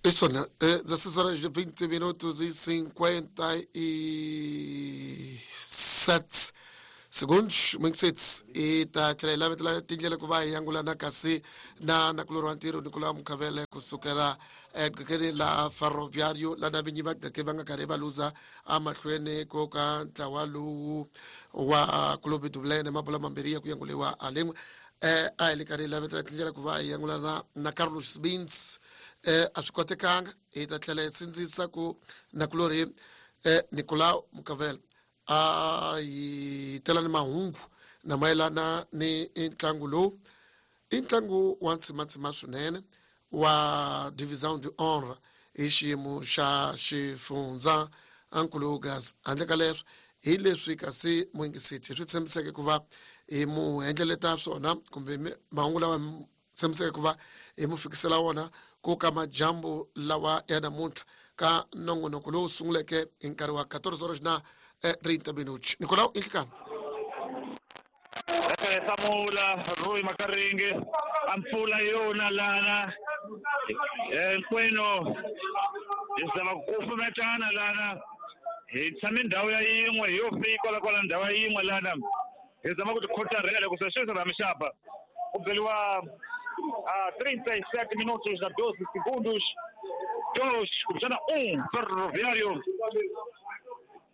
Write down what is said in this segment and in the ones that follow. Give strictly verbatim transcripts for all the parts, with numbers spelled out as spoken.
Isso, né? dezesseis horas e vinte minutos e cinquenta e sete segundos, muito cedo. E tá tlhela la tindlela ku va hi angulana kasi na nakulorhi wa ntirho Nicolau Mukhavele kusukela eqhekeni la Ferroviário la na vinyi va qheke va nga karhi va luza emahlweni ko ka ntlawa lowu wa Clube do Belém mabola mambirhi ya ku yanguliwa a lin'we. Eh a hi le karhi hi lavetela tindlela ku va hi angulana na Carlos Bins eh a swi kotekanga hi ta tlhela hi sindzisa ku nakulorhi eh Nicolau Mukhavele a hi tela ni mahungu na mayelana ni ntlangu lowu i ntlangu wa ntsimatsima swinene wa Divisão de Honra hi xiyimo xa xifundza ankulugas handle ka leswo hi leswi kasi muyingiseti swi tshembiseke ku va hi mu endleleta swona kumbe mahungu lawa tshembiseke ku va hi mu fikisela wona ku ka majambu lawa ya namuntlha ka nongonoko lowu sunguleke hi nkarhi wa quatorze horas na trinta minutos. Nicolau Inhlikana. Samula Rui Makaringe ampula yona lana hinkwenu hi zama ku kufumetana lana hi tshame ndhawu ya yin'we hi yo fika kwala kwala ndhawu ya yin'we lana hi zama ku tikhotarhela ku se sweswi ramixapa ku beriwa a trinta e sete minutos na doze segundos dois kumbexana um Ferroviário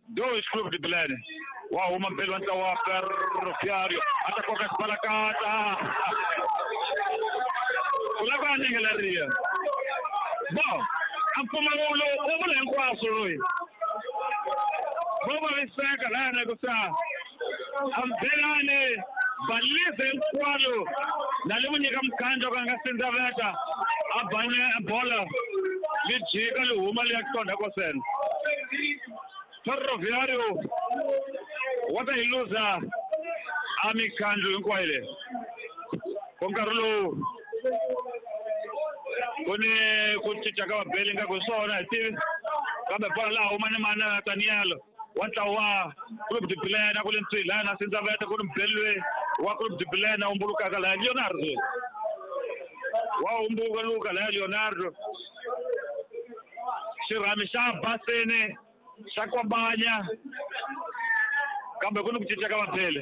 dois Clube de Belém. Wa huma mpelo wa ntlawa wa Ferroviário a ta koka xibalakata ku lava a nyengeleriya bon a mpfumawulo u vula hinkwaswo loyi vo vaviseka lana ku sa ambelani balise hinkwalo na le mu nyika mukhandlo ka nga sindzaveta a bane bola li jika li huma li ya qonda kosena Ferroviário wa ta hi luza a mikhandlo hinkwayo leyi ku nkarhi lowu ku ni ku cinca ka vabeli nga ku swona hi tivi kambe bola laha huma ni mana Daniel wa ntlawa wa Clube de Belém ku le ntswi laha na sindzaveta ku ni mubeli loyi wa Clube de Belém a humbulukaka laha Leonardo wa humbuluka laha Leonardo xirhami xa basini xa kwambanya kambe ku ni ku cinca ka vabeli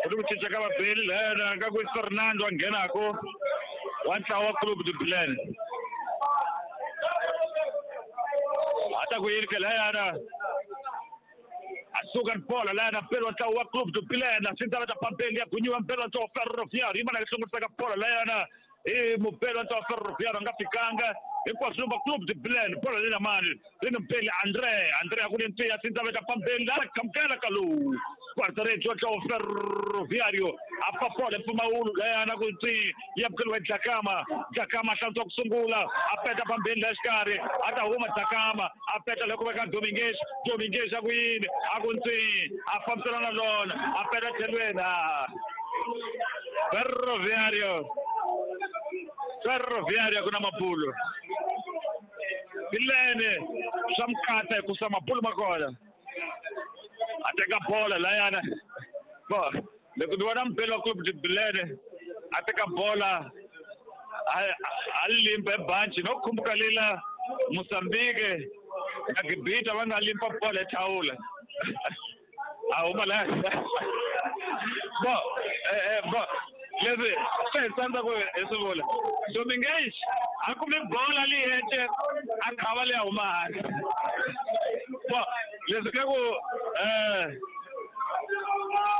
ku ni ku cinca ka vabeli lahayana ka ku Fernando a nghenako wa ntlawa wa Clube de Belém a ta ku yini ke lahayana a suka ni bola lahayana mpeli wa ntlawa wa Clube de Belém sindzaveta pambeli ya gunyiwa mpeli wa ntlawa wa Ferroviário yi mana yi hlongorisaka bola lahayana i mupeli wa ntlawa wa Ferroviário a nga fikanga hinkwaswo va Clube de Belém bola leyi na mani ri ni mpeli André André a ku ni ntiya sindzaveta pambeli la khamukela ka lowu guarda-redes wa ntlawa wa Ferroviário a pa bola mpfumawulo layana ku ntsi ya bukeliwa hi Dlakama Dlakama a hlantswa ku sungula a peta pambeni laha xikarhi a ta huma Dlakama a peta loko veka Domingues Domingues a ku yini a ku ntsi a fambisana na lona a peta tlhelweni a Ferroviário Ferroviário ku na mabulo Bilene swa mukata hi kusa mabulo ma kona a teka bola layana bo loko ni vona mpelo wa Clube de Belém a teka bola a limpa ebanci no khumbuka lila Mozambique na Gibita va nga limpa bola ethawula a huma laya bo eh bo leswi swi hi tsandza ku hi swi vula Domingues a kumi bola leyi hete a khava leyi huma hansi bo leswi ka ku um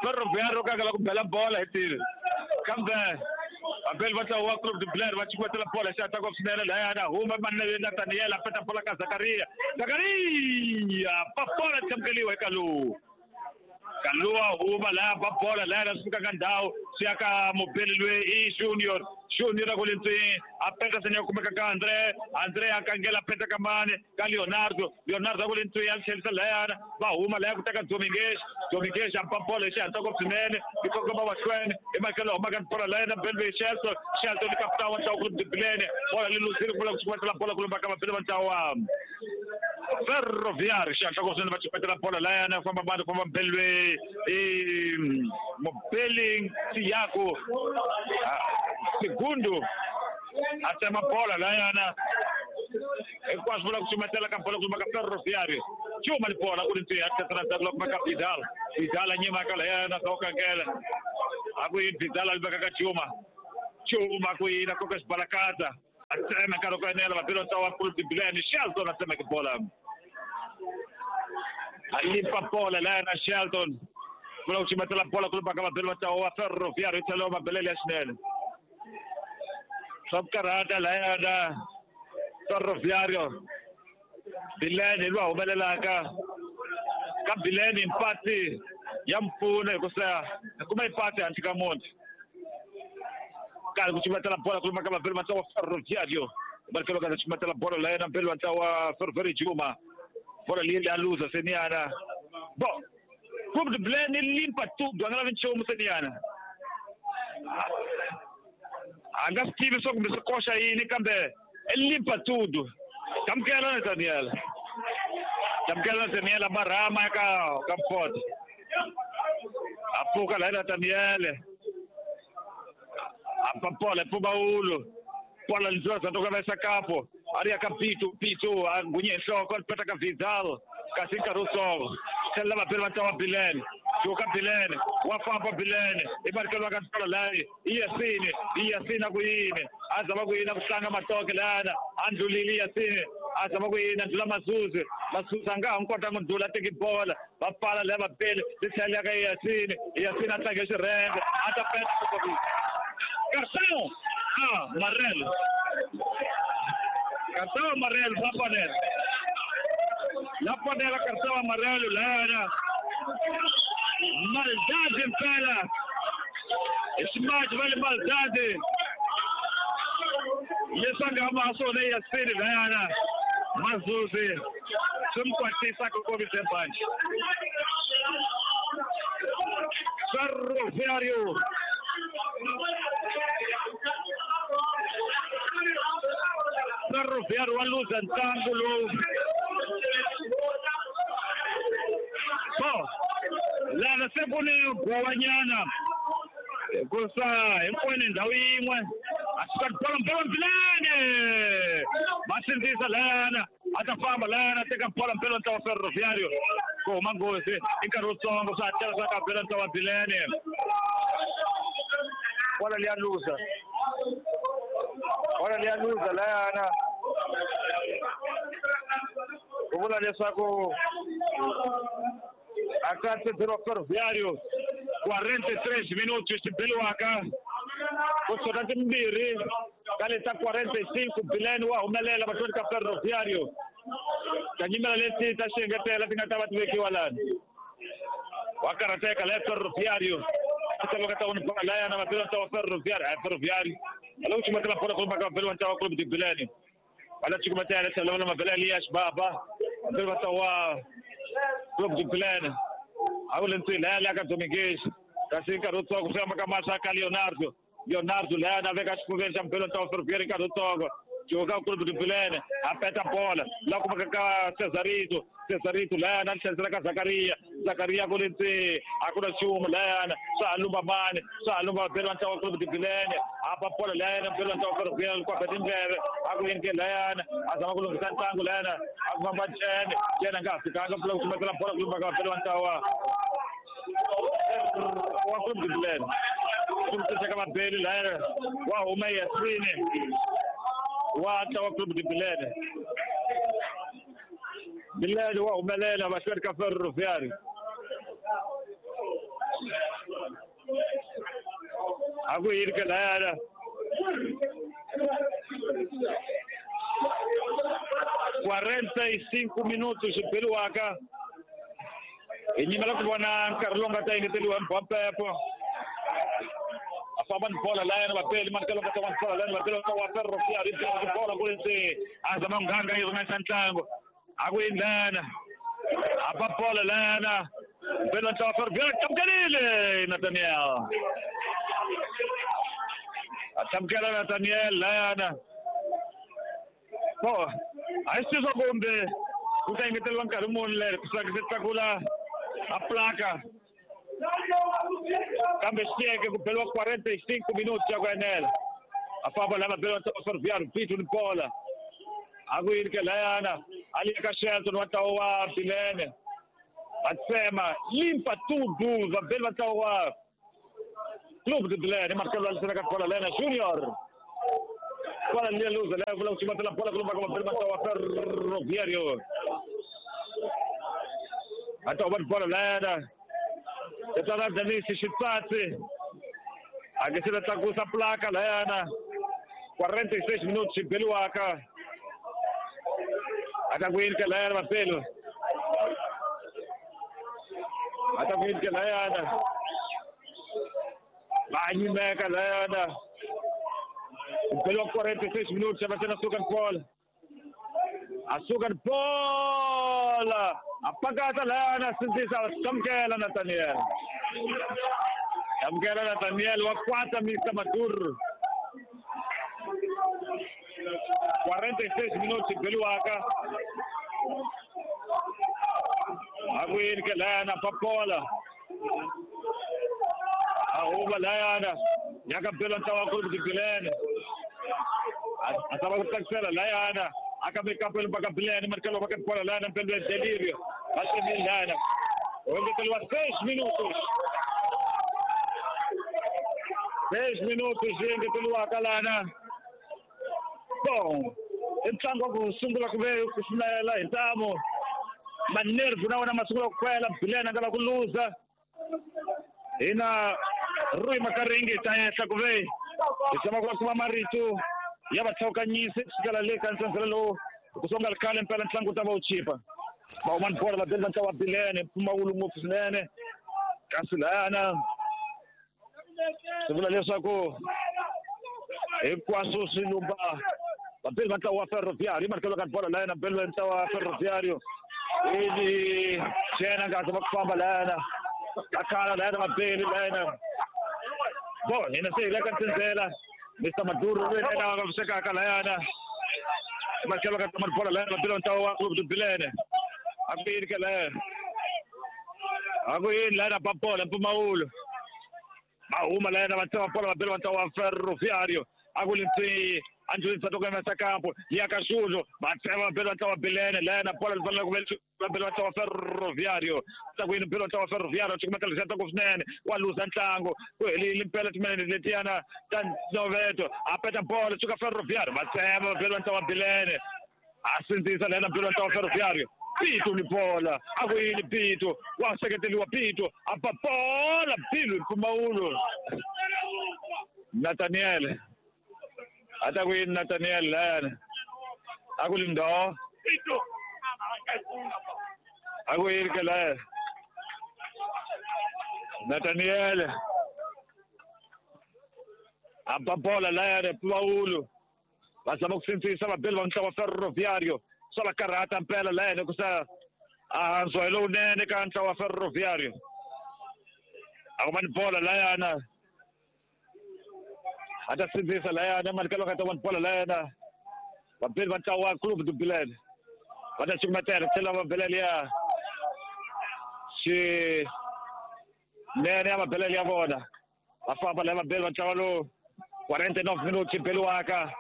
Ferroviário ka la ku bela bola hi tivi kambe vabeli va ntlawa wa Clube de Belém va chikwetela bola xi hatla swinene lahayana huma manene na Daniel a peta bola ka Zakaria Zakaria pa bola thamukeliwa eka lowu Kalua huma laha ba bola laha swi fika ka ndhawu swi ya ka mubeli loyi i Junior Junior a ku le ntswini a peta sene ya kumeka ka André André a kangela a peta ka mani ka Leonardo Leonardo a ku le ntswini a tlhelisa lahayana va huma lahaya ku teka Domingues Domingues a ba bola hi xihatla ngopfu swinene yi kongoma mahlweni hi makelo humaka ni bola lahayana mubeli loyi Shelton Shelton ni kapitani wa ntlawa Clube de Belém bola li luzile ku vula ku xikwetela bola ku lumba ka vabeli va ntlawa Ferroviário xihatla ngopfu swinene va chipetela bola lahayana famba mani famba mubeli loyi i mubeli Tiago Segundo a tsema bola lahayana Hinkwaswo vula ku cumetela ka bolo ku ka Ferroviário. Chuma ni bola ku ri ntiya tlhela ndzhaku loko ka Vidal. Vidal a nyima ka layana ka ukangela. A ku yini Vidal a veka ka Chuma. Chuma ku yini koka xibalakata. A tsema nkarhi ku enela vabelo ta wa Clube de Bilene. Shelton a tsemeke bola. A limpa bola layana Shelton. Vula ku cumetela bola ku ka vabelo ta wa Ferroviário tlhelo mabelele ya xinene. Swa ku karhata layana Ferroviário. Bilene hi loyi a humelelaka ka Bilene mpati ya mpfuno hikusa hi kuma ipati handle ka munhu karhi ku cumetela bola ku ka vabeli va ntlawa Ferroviário barikelo ka cumetela bola la yena mbeli wa ntlawa Ferroviário Juma bola leyi ya luza seniyana bo Clube de Bilene limpa tudo a nga lavi nchumu seniyana a nga swi tivi swa kumbe swi koxa yini kambe i limpa tudo. Tamkela Nathaniel. Tamkela Nathaniel abarama ka ka Ford. Apuka la Nathaniel. Apapola Pumaulo. Pola Nzosa toka vesa capo. Aria Capito Pito angunye nhloko peta ka Vidal. Kasi nkarhi wutsongo. Tlhela vabeli va ntlawa Bilene. Juka Bilene, wa famba Bilene, i barikelo ka ntlola layi, i Yasini, i Yasini a ku yini, a zama ku yini ku tlanga matoke lana, a ndlulile Yasini, a zama ku yini a ndlula Masuzi, Masuzi a nga ha n'wi kota ku ndlula a teki bola, va pfala laya vabeli, ri tlhela ka Yasini, Yasini a tlange xirhenge, a ta peta Cartão amarelo. Cartão amarelo, la panela. La panela, cartão amarelo, lana. Maldade, mpela. Esse mais vale maldade. Leswi a nga ma swona Yasini layana Mazuzi swi n'wi kwatisa ku kombise banji. Ferroviário Ferroviário wa luza ntlangu lowu. So lana se ku ni gowanyana hikusa hinkwenu ndhawu yin'we a suka bola mpela Bilene va sindzisa lana a ta famba lana teka bola mpela ntlawa Ferroviário ku huma nghozi i nkarhi wutsongo swa hatlela swa ka bela ntlawa Bilene bola liya luza bola liya luza layana ku vula leswaku a ka tsedzeriwa Ferroviário quarenta e três minutos xibeliwaka ku suka timbirhi ka leta quarenta e cinco Bilene wa humelela mahlweni ka Ferroviário tanyimela leti ta xengetela ti nga ta va ti vekiwa lani wa karhateka la Ferroviário a tsalwa ta vona bola layana vabeli va ntlawa Ferroviário a Ferroviário a loko cumetela bola ku ka vabeli va ntlawa Clube de Bilene va la cukumetela tlhelo va mabele Elias Baba vabeli va ntlawa Clube de Bilene a ku le ntswini laya laya ka Dominguez kasi nkarhi wutsongo swi famba ka mahlo ka Leonardo Leonardo laya na veka xifuveni xa mbelo ntlawa Ferroviário nkarhi wutsongo Joga Clube de Bilene a peta bola la kumeka ka Cesarito Cesarito laya na tlherisela ka Zakaria Zakaria ku le ntseni a ku na nchumu layana swa ha lumba mani swa ha lumba vabeli va ntlawa Clube de Bilene a ba bola layana mbelo ntlawa Ferroviário ku ba tindleve a ku yini ke layana a zama ku lunghisa ntlangu layana a ku famba Ncene Ncene a nga ha fikanga ku lava ku cumetela bola ku lumba ka vabeli va ntlawa wa Clube de Bilene ku ka vabeli layana wa huma Yasini wa ntlawa Clube de Bilene Bilene wa humelela mahlweni ka Ferroviário a ku yini ke layana quarenta e cinco minutos xibeliwaka hi nyimela ku vona nkarhi lowu nga ta engeteriwa hi Mbampepo a famba ni bola layana vapeli mani ka lowu nga ta va bola layana vapeli wa Ferroviário yi bola ku ri ntseni a zama nghanga yi ringanisa ntlangu a ku yini layana a ba bola layana mbeli wa ntlawa Ferroviário tlamukelile Nathaniel a tlamukela Nathaniel layana so a hi swi swa kumbe ku ta engeteriwa nkarhi muni leri ku se tlakula a plaka kambe xiyeke ku beliwa quarenta e cinco minutos ya ku enela a famba lava beliwa ntlawa Ferroviário Pito ni bola A ku yini ke layana a le ka Shelton wa ntlawa wa Bilene va tsema limpa tudo vabeli va ntlawa wa Clube de Bilene Marcelo alisela ka bola lena Junior bola liya luza leyo vula ku cumatela bola kulumba ka vabeli va ntlawa wa Ferroviario va ta va bola lena Tetana Denise Xitsatsi a nge se ta tlakusa placa layana quarenta e seis minutos xibeliwaka a ta ku yini ke layana vapelo a ta ku yini ke layana va nyimeka layana beliwa quarenta e seis minutos va sena suka bola a suka bola a pakata layana sindzisa amukela Nathaniel amukela Nathaniel wa kwata Mister Maduro quarenta e seis minutos beliwaka a ku yini ke layana papola a huma layana ya ka bela ntlawa wa Clube de Bilene a zama ku tlakusela layana a ka mekapelo baka Bilene markelo baka bola layana mpelo ya Delirio va tsemile layana u engeteriwa seis minutos seis minutos yi engeteriwaka lana. Bom, i ntlangu wa ku sungula ku ve ku sumela hi ntamu manervu na wona ma sungula ku kwela Bilene a nga la ku luza hina Rui Makaringi ta henhla ku ve hi zama ku va kuma marito ya vatlhawukanyisi kusukela le ka ntsendzele lowu ku songa ri khale mpela ntlangu wu ta va wu chipa va huma ni bola vabeli va ntlawa wa Bilene mpfumawulo ngopfu swinene kasi layana swi vula leswaku hinkwaswo swi lumba vabeli va ntlawa wa Ferroviario markelo ka bola layana beli va ntlawa wa Ferroviario ivi xena nga zama ku famba layana a khala layana vabeli layana bon hina se hi le ka ntsendzela Mister Maduro lweyi a vavisekaka layana markelo ka bola layana vabeli va ntlawa wa Clube de Bilene a ku yini ke layana a ku yini layana ba bola mpfumawulo va huma layana va tsema bola vabeli va ntlawa wa Ferroviario a ku lintswi Angelina Satoka Campo ya ka Xulo va tsema vabeli va ntlawa wa Bilene layana bola li fanele ku vabeli va ntlawa wa Ferroviario tsakwini beli va ntlawa wa Ferroviario cukumetela xa ntsako swinene wa luza ntlangu ku helile mpela timinete letiyana ta noveto a peta bola suka Ferroviario va tsema vabeli va ntlawa wa Bilene a sindzisa layana beli va ntlawa wa Ferroviario Pito ni bola a ku yini Pito wa seketeriwa Pito a ba bola Bilu mpfumawulo Nathaniel a ta ku yini Nathaniel layana a ku lindo a ku yini ke layana Nathaniel a ba bola layana mpfumawulo va zama ku sindzisa vabeli va ntlawa wa Ferroviario swa va karhata mpela layana ku sa a handziwa hi lowunene ka ntlawa wa Ferroviario a ku va ni bola layana a ta sindzisa layana markelo ka ta va ni bola layana vabeli va ntlawa wa Clube de Bilene va ta cukumetela tlhela va belele ya xinene ya mabelele ya vona va famba laya vabeli va ntlawa lowu quarenta e nove minutos xibeliwaka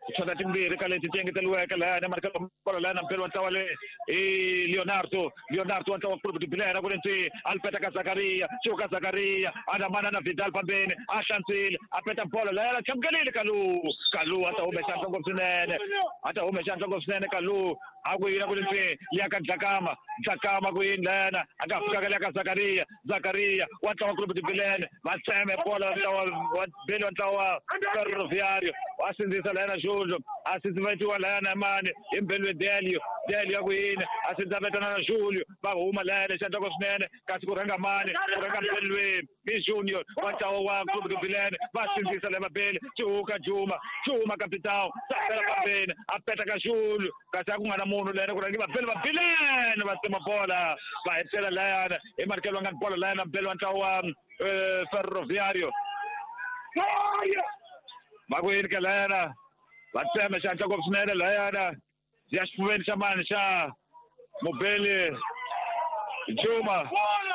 tichota timbirhi ka leti ti engeteriweke layana markelo bola layana mpeli wa ntlawa le i Leonardo Leonardo wa ntlawa wa Clube de Bilene ku ri ntwi a li peta ka Zakaria Chuka Zakaria a namana na Vidal pambeni a hlantswile a peta bola layana chamukelile Kalu Kalu a ta hume xandla ngopfu swinene a ta hume xandla ngopfu swinene Kalu a ku yini a ku ri ntwi liya ka Dlakama Dlakama ku yini layana a nga fikaka liya ka Zakaria Zakaria wa ntlawa wa Clube de Bilene va tseme bola ntlawa wa beli wa ntlawa wa Ferroviario wa sindzisa layana Julio a sindzivetiwa layana mani hi mbelwe Delio Delio ya ku yini a sindzavetana na Julio va huma layana xandla swinene kasi ku rhanga mani ku rhanga mbelwe i Junior wa ntlawa wa Clube de Bilene va sindzisa laya vabeli Chuka Juma Juma capitão sakela pambeni a peta ka Julio kasi a ku nga na munhu layana ku rhangi vabeli va Bilene va tsema bola va hetelela layana hi markelo va nga ni bola layana mbeli wa ntlawa wa Ferroviario va ku yini ke layana va tsema xandla ngopfu swinene layana ya xifuveni xa mani xa mubeli Juma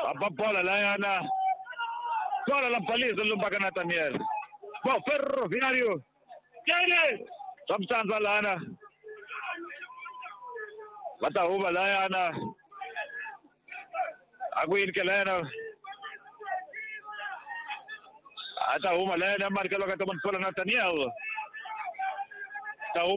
a ba bola layana bola la baliza lumbaka Nathaniel bo Ferroviario swa mitsandza lana Va ta huma layana a ku yini ke layana a ta huma layana mari ka loko ta bola Nathaniel.